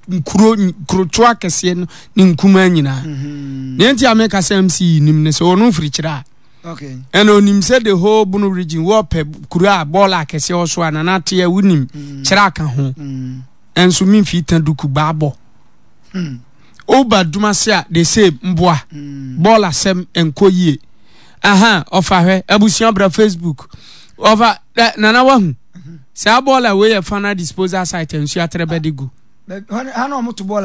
nkuro nkurotoɔ akɛseɛ no ne nkumaa nyinaa. Mm-hmm. Deɛ nti a meka sɛ MC nim ne sɛ ɔno mfiri kyerɛ a. Okay. Ɛna onim sɛ the whole Bono region wɔpɛ kuro a bɔɔl akɛseɛ wɔ so a nana ateɛ wonim mm. kyerɛ aka ho. Mm. Ɛnso memfii ta duku baabɔ. Mm. Woba Dumase a the same mboa. Mm. Bɔɔl asɛm nkɔ yie. Aha ɔfa hwɛ abusua bra Facebook. Ɔfa nana wahu. Mm-hmm. Saa bɔɔl a wei yɛ final disposal site nsuo atrɛ bɛde gu.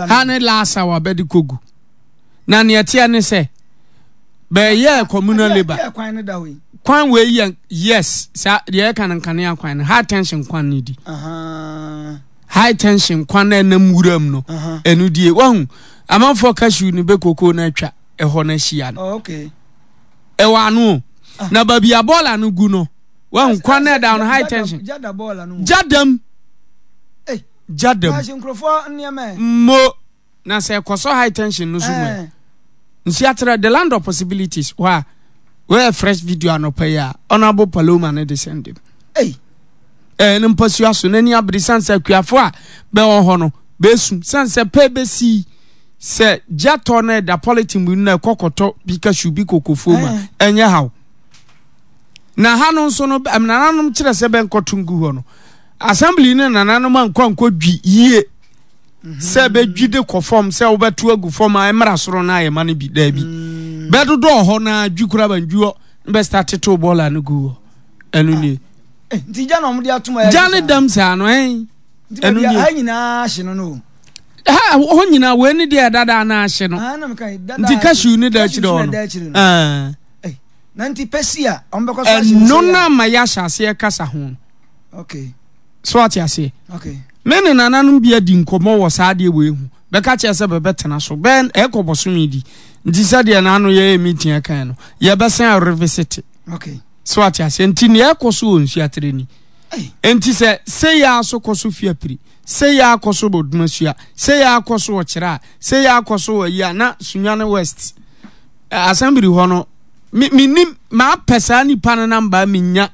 Ha ne last hour bɛde kɔ gu. Na neɛ teɛ ne sɛ bɛyɛ communal labour. Kwan wei yɛ yes saa deɛ ɛka no nkanea kwan no high tension kwan no di. High tension kwan na ɛnam wuram no ɛno die wahu amanfoɔ cashew no bɛ koko no atwa ɛhɔ no ahyia no. Oh, ɛwɔ ano o. Ah. Na baabi a bɔɔla no gu no wahu kwan na ɛda no high tension. Gyadam. Gyadam. Mo. Na sɛ ɛkɔsɔ high tension no so mu ɛ. Nsi atrɛ the land of possibilities hɔ a wɔyɛ fresh video anɔpa yi a honourable Paloma no de sɛnde m. Ei. Ɛɛ ne mpasua so n'ani abere san sɛ akuafo a bɛwɔ hɔ no bɛsu san sɛ pɛ bɛsi sɛ gya tɔ no ɛda polythene mu na ɛkɔ kɔtɔ bi cashew bi kokofuo mu a ɛnyɛ haw. Na ha no nso no nananom kyerɛ sɛ bɛnkɔto ngu hɔ no assembly ne nananom ankɔ ankɔ dwi yie. sɛ bɛdwi de kɔ fam sɛ wobɛto agu fam a ɛmmra soro no ayɛ ma no bi daabi mm. bɛdodɔɔ hɔ na dwi kora bandwi hɔ na bɛsta tetew bɔɔla no gu hɔ ɛno nie eh, nti gya na ɔmode atom ayɛ gya ne dam saa no ɛn ɛno nie ha nyinaa hye no no ha hɔ nyinaa wei ne deɛ ɛdada na ahye no ah, nti cashew ne da akyire hɔ no ah. eh, na nti pɛsi a ɔmbɛkɔ so ahye ɛno na ama yɛahyɛ aseɛ kasa ho no okay So ate aseɛ? Okay. Me ne nananom bi adi nkɔmmɔ wɔ saa adeɛ wei ho. Bɛka kyerɛ sɛ bɛbɛtena so. Bɛn ɛkɔ bɔsome di. Nti sɛdeɛ n'ano yɛyɛ meeting ɛkan no, yɛbɛsan revisit. Okay. So ate aseɛ? Nti nea ɛkɔ so wɔ Nsuatere ni. Nti sɛ sei ara so kɔ so Fiapiri, sei ara kɔ so wɔ Dumasua, sei ara kɔ so wɔ Kyerɛ a, sei ara kɔ so wɔ ayi a, na Sunyani West assembly hɔ no me menim maapɛ saa nipa no namba menya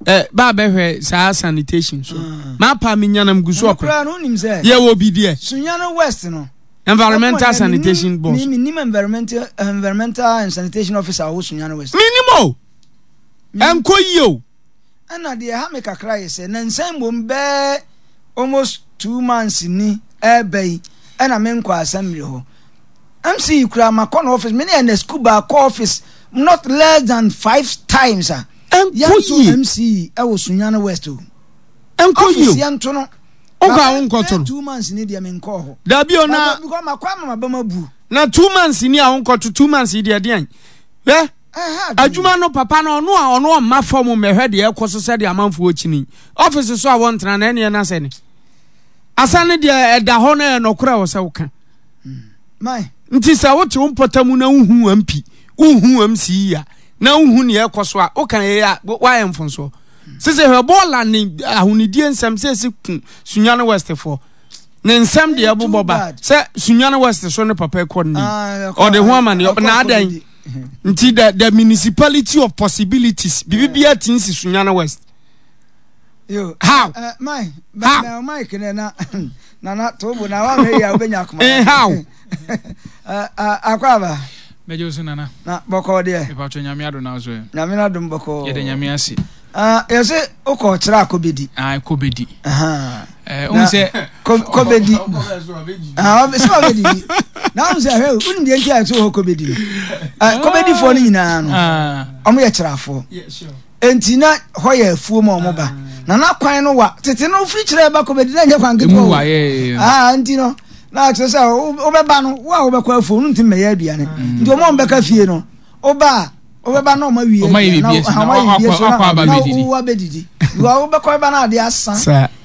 eh, ba bɛhwɛ saa sanitation so mm. maapa menya nam gu so ɔpɛ yɛwɔ bi deɛ Sunyani West no environmental sanitation boss menim environmental environmental and sanitation officer wɔ Sunyani West menim o ɛnkɔ yie o Ɛna deɛ ɛha me kakra yɛ sɛ nansa mmom bɛɛ almost 2 months ni ɛɛba yi ɛna menkɔ assembly hɔ. MC yi koraa makɔ no office me ne Ernest Kuba kɔ office not less than five times a ɛnkɔ yɛnto yie MC yi ɛwɔ Sunyani West o. Ɛnkɔ yie Office o. yɛnto no. Wokɔ a wonkɔto no. 2 months ni deɛ menkɔɔ hɔ. Dabi o na. Because makɔ ama maba mabu. Na 2 months ni a wonkɔto 2 months yi deɛ deɛn hwɛ. Adwuma no papa no ɔno a ɔno ɔmma fam mmɛhwɛ deɛ ɛkɔ so sɛdeɛ amanfoɔ kyini ɔfisi so a wɔntena na ɛneɛ na sɛ ne asa ne deɛ ɛda hɔ no ɛyɛ nɔkorɛ wɔ sɛ woka nti sɛ wote wo mpɔta mu na wohu MP wohu MC yi a na wohu neɛ ɛkɔ so a woka yɛ a woayɛ mfonsoɔ sese hwɛ bɔɔla ne ahonidie nsɛm sɛ ɛsi ku Sunyani West foɔ ne nsɛm deɛ ɛbobɔ ba sɛ Sunyani West so ne papa ɛkɔ ne ɔde ho ama ne na adɛn nti the municipality of possibilities biribi biara ti nsi Sunyani West. Yo, how? My, how? Mike ne na na na tobo na wa hwe ya obenya akoma. Eh, how? Akɔ aba. Mɛgye wo so nana. Na bɔkɔɔ deɛ. Mepatwɔ Nyame adom na so ɛ. Nyame na adom bɔkɔɔ. Yɛda Nyame ase. Ah, yɛsɛ wokɔ kyerɛ a kɔbɛdi. Ah, kɔbɛdi. Eh, wohu sɛ kɔbɛdi. Ah, sɛ ɔbɛdidi. Na wohu sɛ hwɛ, wonim deɛ nti a yɛsɛ wɔ hɔ kɔbɛdi no. Ah, kɔbɛdifoɔ no nyinaa no, ah. ɔmo yɛ kyerɛafoɔ. Enti na hɔ yɛ afuo ma ɔmo ba. Na na kwan no wa tete no wofiri kyerɛ ba kɔbɛdi na nyɛ kwan ketewa o. Ah, nti no na kyerɛ sɛ wobɛba no wo a wobɛkɔ afuo no ntumi mmɛyɛ aduane. Nti ɔmo a wɔbɛka fie no woba a wobɛba na ɔmo awie aduane na ɔmo ayɛ biribi so na na wo abɛdidi. Because wobɛkɔ bɛba na adeɛ asa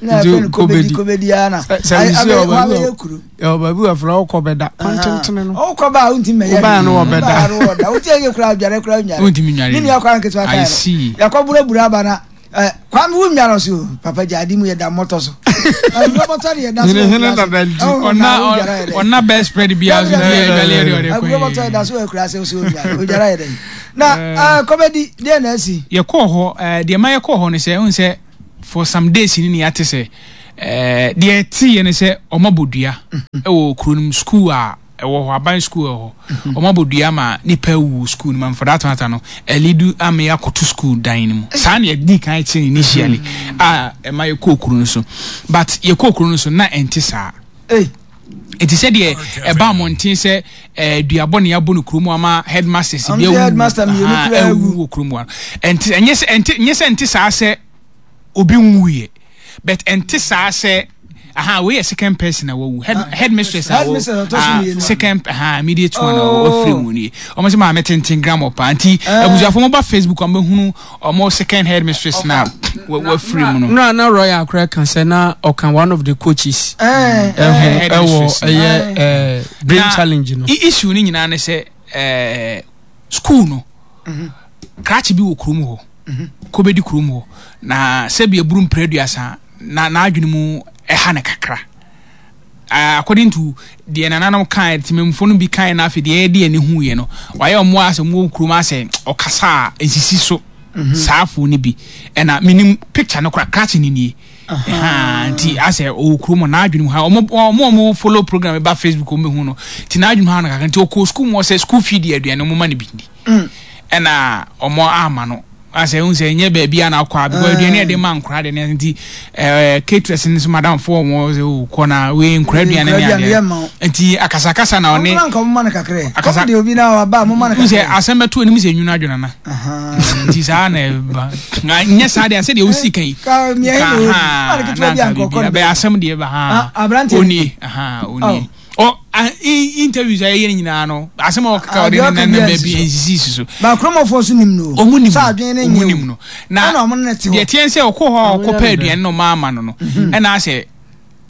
na ɛfɛ no kɔbɛdi kɔbɛdi ara na abɛyɛ kuro. Ɛwɔ baabi wɔ afra wokɔ bɛda kwan tentene no. Wokɔ ba a wontumi mɛyɛ. Wobaa no wɔbɛda. Wobaa no wɔda. Wotia yɛ kura adware kura nware. Wontumi nware. Ne nua kwan ketewa I kan see. no. Yɛkɔ burabura aba na eh, Kwame wo nware so papa gya ade mu yɛ da mmɔtɔ so. Ɛdɔ bɔtɔ de yɛ da so. Hene hene dada nti. Ɔna ɔna best spread bi aso bi adwale yɛ de ɔde kɔ. Ɛdɔ bɔtɔ yɛ da so wɔ akura sɛ so odware. Odware yɛ dɛ. Na kɔbɛdi deɛ na asi. Yɛkɔɔ hɔ deɛ ma yɛkɔɔ hɔ no sɛ ɛhu sɛ for some days ni ne yɛate sɛ. Ɛɛ deɛ ɛteeɛ ne sɛ wɔabɔ dua wɔ kuro no mu sukuu a ɛwɔ hɔ aban sukuu ɛwɔ hɔ mhm. wɔabɔ dua ma nipa awu sukuu no mu for that matter no ɛlidu ama yɛakɔto sukuu dan no mu saa na yɛdi kan kyerɛ initially mhm. a ɛma yɛkɔɔ kuro no so but yɛkɔɔ kuro no so na ɛnte saa nti sɛdeɛ ɛba mmɔnten sɛ eh, duabɔ ne abɔ no kurom ama headmasters bi awu awu wɔ kurom wa ɛnte ɛnyɛ sɛ ɛnte nyɛ sɛ ɛnte saa sɛ obi nwuiɛ but ɛnte saa sɛ aha wei yɛ second person a wawu head ah, headmistress a wɔ ah, second aha immediate one a wafiri mu nie wɔn sɛ maame tenten grammar paa nti eh. abusuafo wɔn ba facebook wɔn bɛhunu wɔn second headmistress na wafiri mu no. nura na royal akora kan sɛ na ɔka one of the coaches ɛho eh. ɛwɔ ɛyɛ ɛɛ brain challenge no. issue ni nyinaa ne sɛ ɛɛ school no mhm. krakye bi wɔ kurom hɔ. kɔbɛdi kurom hɔ na sɛbi aburu mprɛ aduasa na n'adwene mu ɛha no kakra according to deɛ nananom kae temamufo no bi kae na afei deɛ yɛde ani hu yɛ no wayɛ ɔmo asɛ ɔmo wɔ kurom asɛ ɔkasa a nsisi so mhm. saa afo no bi ɛna menim picture no kora krakye no nie nti asɛ ɔwɔ kurom n'adwene mu ha ɔmo ɔmo ɔmo follow program ba facebook ɔmo bɛhu no nti n'adwene mu ha no kakra nti ɔkɔ sukuu mu ɔsɛ school fee deɛ aduane ɔmo ma no bi ndi mm. Ɛna ɔmo ama no asɛ ehu sɛ ɛnyɛ baabi a na akɔ a because aduane yɛde ma nkora de ne nti ɛɛ caterers no nso madam fo wɔn sɛ o kɔ na wei nkora aduane ne adeɛ nti akasakasa na ɔne ɔmo nka ɔmo ma no kakra akasa deɛ obi na waba ɔmo ma no kakra sɛ asɛm bɛto anim sɛ nwunu adwene na nti saa na ɛba na nyɛ saa deɛ sɛ deɛ osi kan yi ka ha na nka biribi bɛyɛ asɛm deɛ ba ha onie ha onie. Ɔ a interviews a yɛyɛ no nyinaa no asɛm a ɔkeka ɔde ne nan baabi nsisi si so. Ba kuromɔfoɔ nso nim no. Ɔmo nim no. Ɔmo nim no. Na deɛ teɛ sɛ ɔkɔ hɔ a ɔkɔ pɛ aduane na ɔmo ama no no mhm. ɛna asɛ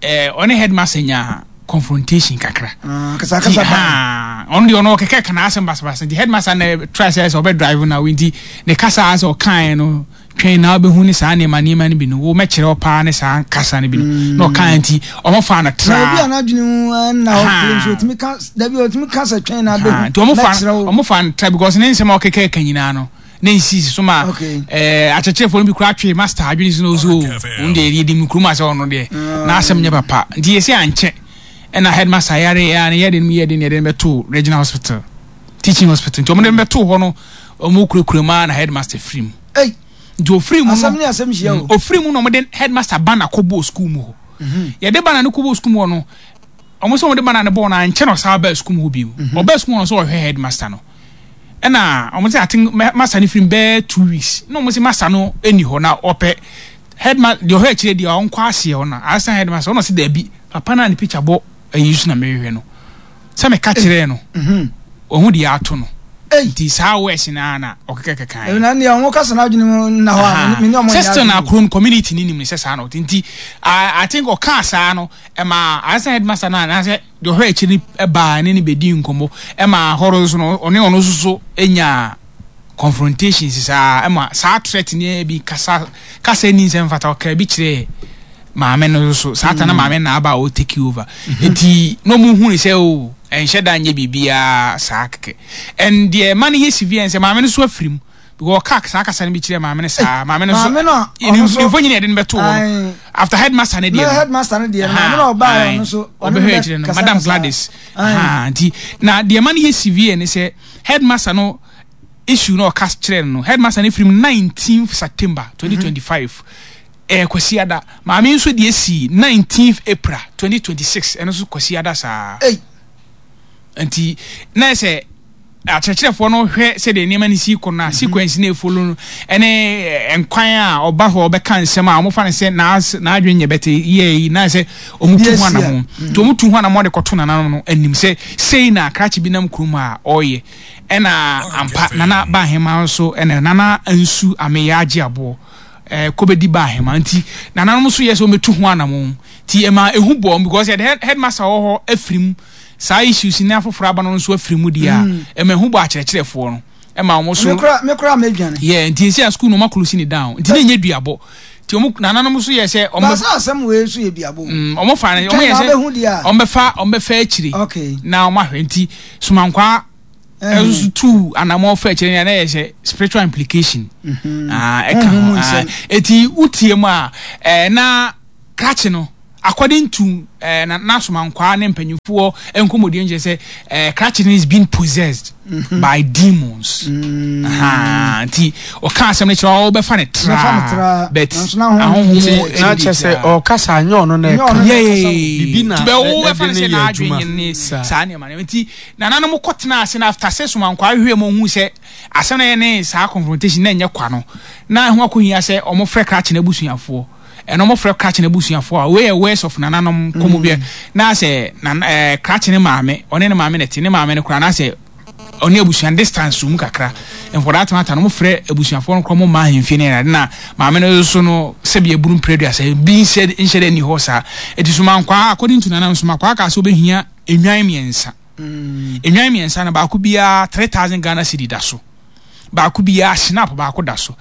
ɛɛ ɔne headmaster nyaa confrontation kakra. Ah, kasakasa ba. Ɔno deɛ ɔno ɔkeka kana asɛm basabasa nti headmaster na try sɛ sɛ ɔbɛ drive na nti ne kasa asɛ ɔkaeɛ no. Twɛn na wobɛhu ne saa nneɛma nneɛma no bi no, wo mɛkyerɛ wo paa ne saa kasa no bi no. Mm. Na ɔkaa nti, ɔmo faa no traa. Na obi a n'adwene mu eh, nna hɔ kure nso otumi ka dabi otumi ka sɛ twɛn na abɛhu. Nti ɔmo fa ɔmo fa no tra because ne nsɛm a ɔkeka ka nyinaa no ne nsisi so ma ɛɛ eh, akyerɛkyerɛfoɔ no bi koraa twe master adwene si na ɔsɛ o ɔno deɛ yɛdi mu kurom asɛ ɔno deɛ mm. n'asɛm nyɛ papa nti yɛsɛ ankyɛ ɛna headmaster yare ɛa ne yɛde no yɛde ne yɛde no bɛto regional hospital teaching hospital nti ɔmo de no bɛto hɔ no ɔmo kurakura mu ara na headmaster firi mu nti ofiri mu no asɛm ne asɛm hyia o mm, ofiri mu na ɔmo de headmaster banner kɔ bɔɔ school mu hɔ mhm. yɛde banner no kɔ bɔɔ school mu hɔ no ɔmo sɛ ɔmo de banner no bɔɔ no ankyɛ na ɔsan baa school mu hɔ bio mhm. ɔbaa school mu hɔ no sɛ ɔhwɛ headmaster no ɛna ɔmo sɛ aten master no firi mu bɛɛ 2 weeks na ɔmo sɛ master no ɛni hɔ na ɔpɛ headmaster deɛ ɔhwɛ akyire deɛ ɔnkɔ aseɛ hɔ na assistant headmaster ɔno ɔsɛ daabi papa no a ne picture bɔ ayi so na mehwehwɛ no sɛ meka kyerɛɛ no ɔhu deɛ ato no nti saa wɛs no ara na ɔkeka keka yɛ. Na nea ɔmo kasa n'adwene mu nna hɔ a me ne ɔmo nyɛ adwene. na kuro no community ne nim ne sɛ saa na ɔte nti I think ɔkaa saa no ɛma assistant headmaster no anaasɛ deɛ ɔhwɛ akyiri no baa ne ne bɛdi nkɔmmɔ ɛma hɔ no nso no ɔne ɔno nso so nyaa confrontations saa ɛma saa threat ne bi kasa kasa ni nsɛm fata ɔkaa bi kyerɛɛ maame no nso saa ta na maame na aba a ɔ take over nti na ɔmo hu ne sɛ o oh, ɛnhyɛ da nyɛ biribiara saa kɛkɛ and deɛ ɛma no yɛ severe sɛ maame no so afiri mu because ɔka saa kasa no bi kyerɛ maame no saa maame no so mfo nyina yɛde no bɛto hɔ no after headmaster no deɛ no headmaster no deɛ no maame no ɔbaa ɔno so ɔbɛhwɛ akyire no madam Gladys nti na deɛ ɛma no yɛ severe ne sɛ headmaster no issue no ɔka kyerɛ no no headmaster no firi mu 19th September 2025 Ɛyɛ Kwasiada. Maame yi nso deɛ sii 19th April 2026, ɛno nso Kwasiada saa. Ei! Nti na yɛ sɛ akyerɛkyerɛfoɔ no hwɛ sɛdeɛ nneɛma no si kɔ no a, mhm. sequence no efolo no ɛne eh, nkwan a ɔba hɔ ɔbɛka nsɛm a wɔfa no sɛ n'adwene nyɛ bɛte yɛ yi na sɛ wɔn tu ho anamɔ mhm. nti wɔn tu ho anamɔ de kɔto nananom no anim sɛ sei na krakye bi nam kurom a ɔreyɛ ɛna ampa nana ba ahema nso ɛna nana nsu ameyɛ agye aboɔ. eh, kɔbɛdi ba ahema nti nananom nso yɛ sɛ wɔbɛtu ho anamon nti ɛma ɛhu bɔɔ because yɛde headmaster wɔ hɔ afiri mu saa issues ne afoforɔ aba no nso afiri mu deɛ a mm. ɛma ɛhu bɔ akyerɛkyerɛfoɔ no ɛma wɔn so mekora mɛdwane yɛ nti ɛsɛ a school no wɔn akolosi ne down nti ne nyɛ duabɔ nti wɔn nananom nso yɛ sɛ wɔn baasa asɛm wei nso yɛ duabɔ wɔn fa wɔn yɛ sɛ wɔn bɛfa wɔn bɛfa akyire na wɔn ahwɛ nti somankwaa ɛnso tuu anamɔ fɛ kyerɛ nea na yɛ sɛ spiritual implication mhm. ah, ɛka ho ah, eti wotie mu a ɛɛ na krakye no. According to eh, na n'asomankwaa ne mpanyinfoɔ nkɔmmɔdie nkyerɛ sɛ eh, krakye no is being possessed by demons. Nti ɔka asɛm no kyerɛ ɔbɛfa ne tra, but ahonhom na kyerɛ sɛ ɔkasa anyɛ ɔno na ɛka bibi na ɛde ne yɛ adwuma ne saa nneɛma no. Nti nananom kɔtena ase na after sɛ somankwaa hwehwɛ mu ohun sɛ asɛm no yɛ ne saa confrontation na ɛnyɛ kwa no, na ɛho akɔhia sɛ wɔfrɛ krakye no abusuafoɔ. Ɛno ɔmo frɛ krakye no abusuafoɔ a, wei yɛ words of nananom nkɔmɔ bi na sɛ na ɛɛ krakye ne maame, ɔne ne maame na ɛte, ne maame no koraa na sɛ ɔne abusua no distance wɔ mu kakra. And for that matter no, ɔmo frɛ abusuafoɔ no koraa ɔmo mma ahemfie ne ɛnade na maame no nso no sɛbi aburu mpere aduasa bi nhyɛ nhyɛ dɛ nni hɔ saa. Eti Somankwaa, according to nananom, Somankwaa kaa sɛ ɔbɛhia nnwan mmiɛnsa. Nnwan mmiɛnsa no baako biara 3,000 Ghana cedi da so. Baako biara snap baako da so.